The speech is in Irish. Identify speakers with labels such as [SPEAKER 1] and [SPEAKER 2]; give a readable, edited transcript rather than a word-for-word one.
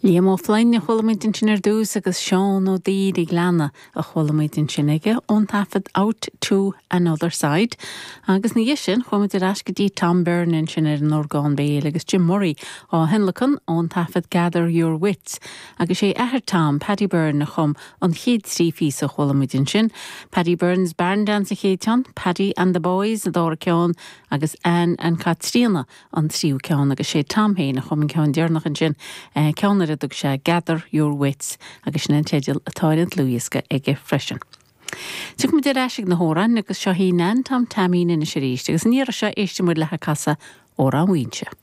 [SPEAKER 1] Liam Ó Floinn a chuala muid ansin ar dtús agus Seán Ó Duibhir an Ghleanna a chuala muid ansin aige ón taifead Out to Another Side. Agus ina dhiaidh sin chuaigh muid ar ais go dtí Tom Byrne ansin ar an orgán béil agus Jim Murray á thionlacan ón taifead Gather Your Wits. Agus sé athair Tom, Paddy Byrne, a chum an chéad trí phíosa a chuala muid ansin, Paddy Byrne's Barn Dance an chéad cheann, Paddy and the Boys an dara ceann agus Anne and Caitríona an tríú ceann agus sé Tom féin a chum an ceann deireanach ansin, ceann ar a dtug sé Gather Your Wits agus sin an teideal atá ar an dlúthdhiosca aige freisin. Tiocfaidh muid ar ais ag na hamhráin agus seo í Nan Tom Taimín anois arís agus an iarraidh seo éistfidh muid léi ag casadh Amhrán Mhaínse.